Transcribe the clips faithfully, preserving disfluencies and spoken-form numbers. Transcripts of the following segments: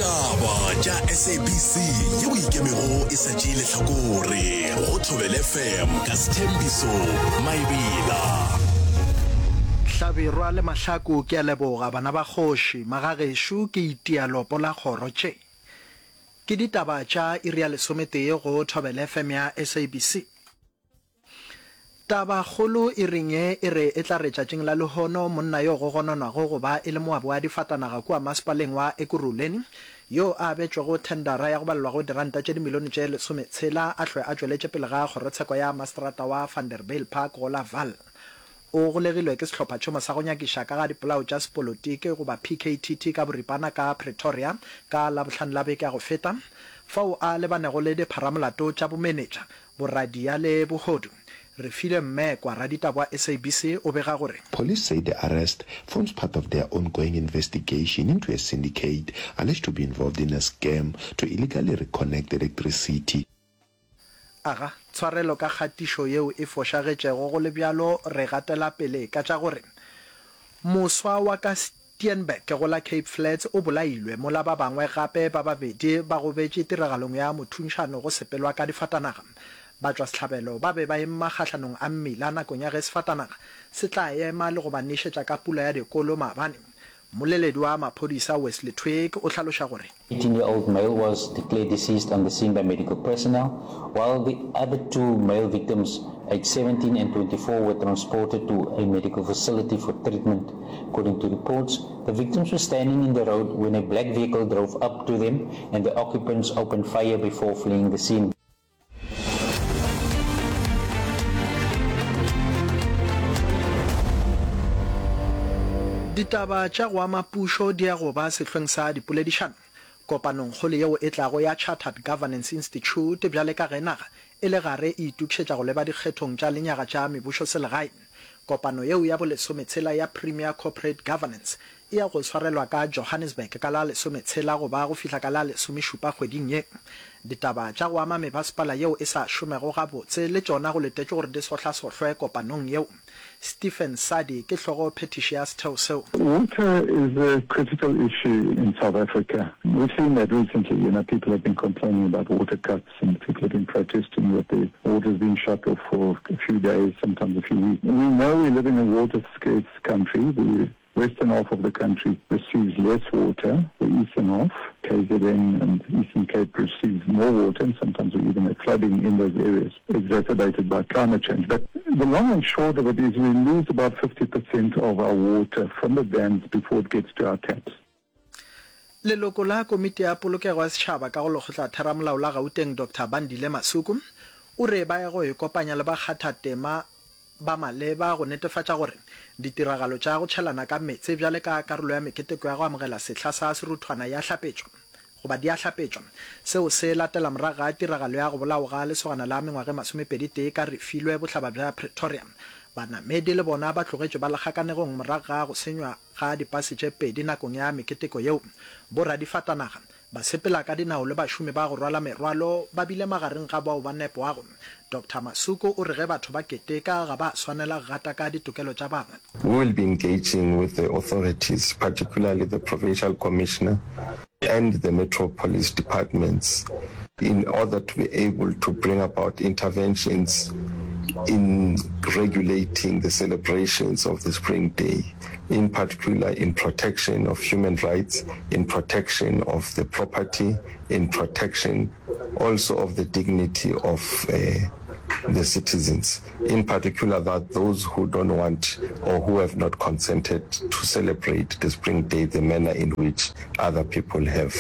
Ditaba tša S A B C yeo ikemego e sa tšee lehlakore go Thobela F M ka Sethembiso Maebela. Hlabirwa le Mahlaku ke a leboga bana ba kgoši, magagešo ke itia lopo la kgoro tše. Ke ditaba tša iri ya lesometee go Thobela F M ya S A B C. Tabakgolo iring ye e re e tla re tšatšing la lehono monna yo go gononwago go ba e le moabi wa difatanaga kua masepaleng wa Ekurhuleni yo a abetšwego thendara ya go balelwago diranta tše dimilione tše lesometshela a hlwe a tšweletše pele ga kgorotsheko ya maseterata wa Vanderbijlpark go la Vaal. O golegilwe ke sehlophatšhomo sa go nyakiša ka ga dipolao tša sepolotiki goba P K T T ka boripana ka Pretoria ka Labohlano la beke ya go feta fao a lebanego le dipharamolato tša bomenetša, boradia le bohodu. Refilwe Mmekwa, raditaba wa S A B C o bega gore. Police say the arrest forms part of their ongoing investigation into a syndicate alleged to be involved in a scam to illegally reconnect electricity. Aga, tshwarelo ka kgatišo yeo e fošagetšego, go le bjalo re gatela pele ka tša gore moswa wa ka Steenberg go la Cape Flats o bolailwe mola ba bangwe gape ba babedi ba gobetše tiragalong ya mothunšano go sepelwa ka difatanaga. Batšwasehlabelo ba be ba ema kgahlanong a mmila nakong ya ge sefatanaga se tla ema le go ba nešetša ka pula ya dikolo maabane. Mmoleledi wa maphodisa Wesley Twigg o hlaloša gore. eighteen-year-old male was declared deceased on the scene by medical personnel, while the other two male victims, aged seventeen and twenty-four, were transported to a medical facility for treatment. According to reports, the victims were standing in the road when a black vehicle drove up to them and the occupants opened fire before fleeing the scene. Ditaba tša go ama pušo di ya go ba sehlweng sa dipoledišano kopanongkgolo yeo e tlago ya Chartered Governance Institute bjale ka ge naga e le gare e itokišetša go leba dikgethong tša lenyaga tša mebušoselegae. Kopano yeo ya bolesometshela ya Premier Corporate Governance e ya go swarelwa ka Johannesburg ka la lesometshela go ba go fihla ka la lesomešupa kgweding ye. Ditaba tša go ama mebasepala yeo e sa šomego gabotse le tšona go letetšwe gore di sohlasohlwe kopanong yeo. Stephen Sadi ke hlogo phethiši ya setheo seo. Water is a critical issue in South Africa. We've seen that recently, you know, people have been complaining about water cuts and people have been protesting that the water's been shut off for a few days, sometimes a few weeks. We know we live in a water scarce country. The western half of the country receives less water. The eastern half, K Z N and Eastern Cape, receives more water, and sometimes we even have flooding in those areas, exacerbated by climate change. But the long and short of it is we lose about fifty percent of our water from the dams before it gets to our taps. Leloko la Komiti ya Polokego ya Setšhaba ka go Lekgotlatheramolao la Gauteng Doctor Bandile Masuku o re ba ya go ikopanya le bakgathatema ba maleba go netefatša gore ditiragalo tša go tšhelana ka meetse bjale ka karolo ya meketeko ya go amogela sehla sa seruthwana ya hlapetšwa goba di a hlapetšwa. Seo se latela morago ga tiragalo ya go bolawa ga lesogana la mengwaga e masomepedi tee ka Refilwe bohlaba bja Pretoria. Banamedi le bona ba tlogetšwe ba le kgakanegong morago ga go senywa ga dipase tše pedi nakong ya meketeko yeo. Boradifatanaga, basepela ka dinao le bašomi ba go rwala merwalo ba bile magareng ga bao ba nepwago. Doctor Masuku o re ge batho ba keteka ga ba swanela go gataka ditokelo tša bangwe. We will be engaging with the authorities, particularly the provincial commissioner and the metro police departments, in order to be able to bring about interventions in regulating the celebrations of the Spring Day, in particular in protection of human rights, in protection of the property, in protection also of the dignity of uh, the citizens, in particular that those who don't want or who have not consented to celebrate the Spring Day the manner in which other people have.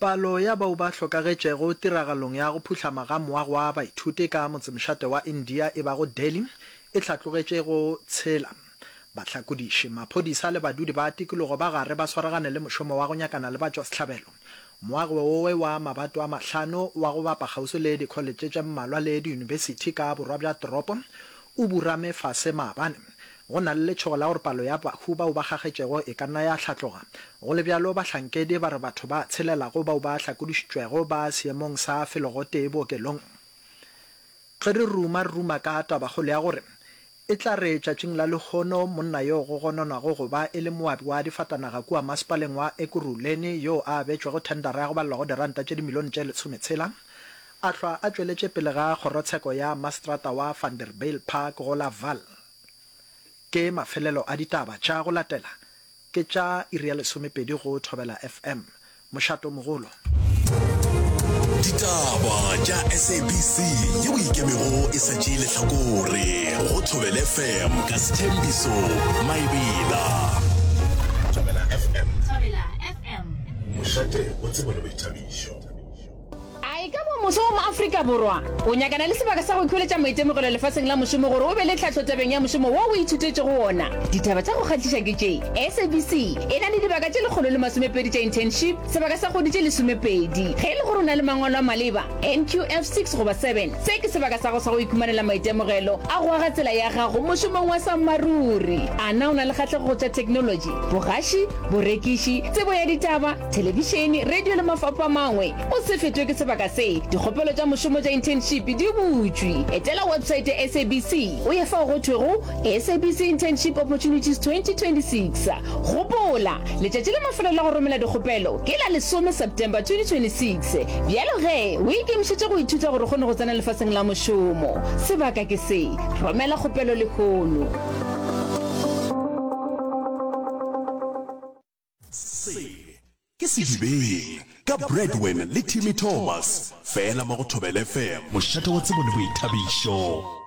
Palo ya bao ba hlokagetšego tiragalong ya go phuhlama ga moago wa baithuti ka motsemošate wa India e bago Delhi e hlatlogetše go tshela. Bahlakodiši, maphodisa le badudi ba tikologo ba gare ba swaragane le mošomo wa go nyakana le batšwasehlabelo. Moago wowe wa mabato a mahlano wa go bapa kgauswi le dikholetše tše mmalwa le diyunibesithi ka borwa bja toropo o burame fase maabane. Go na le letšhogo la gore palo ya bahu bao ba kgakgetšego e ka nna ya hlatloga. Go le bjalo, bahlankedi ba re batho ba tshelelago bao ba hlakodišitšwego ba seemong sa felo gotee bookelong. Ge re ruma re ruma ka tabakgolo ya gore E tla re tšatšing la lehono monna yo go gononwago go ba e le moabi wa difatanaga kua masepaleng wa Ekurhuleni yo a abetšwego thendara ya go balelwa go diranta tše dimilione tše lesometshela a hlwa a tšweletše pele ga kgorotsheko ya maseterata wa Vanderbijlpark go la Vaal. Ke mafelelo a ditaba tša go latela ke tša iri ya lesomepedi go Thobela F M, mošatomogolo. Ditaba tša S A B C yeo e ikemego e sa tšee lehlakore go Thobela F M ka Sthembiso Maebela. Thobela F M. Thobela F M. Mošate wa tsebo le boithabišo. A e ka ba moswa wa mo-Afrika Borwa o nyakana le sebaka sa go ikhweletša maitemogelo lefaseng la mošomo gore o be le tlhahlo tabeng ya mošomo wo o ithutetšego wona? Ditaba tša go kgahliša ke tše, S A B C e na le dibaka tše lekgolo le masomepedi tša internship, sebaka sa kgwedi tše lesomepedi. Ge e le gore o na le mangwalo a maleba, N Q F six goba seven, se ke sebaka sa go sa go ikhumanela maitemogelo a go aga tsela ya gago mošomong wa sammaruri. A na o na le kgahlego go tša theknolotši, bogaši, borekiši, tsebo ya ditaba, thelebišene, radio le mafapha a mangwe? O se fetwe ke sebaka se. Dikgopelo tša mošomo tša internship di butšwe. Etela website ya S A B C o ye fao go thwego S A B C Internship Opportunities twenty twenty-six. Gopola, letšatši la mafelelo la go romela dikgopelo ke la lesome September twenty twenty-six. Bjalo ge, o ikemišetše go ithuta gore o kgone go tsena lefaseng la mošomo. Sebaka ke se. Romela kgopelo lehono. Se ke Sedibeng ka Bradwin le Timmy Thomas, fela mo go Thobela F M, mošate wa tsebo le boithabišo.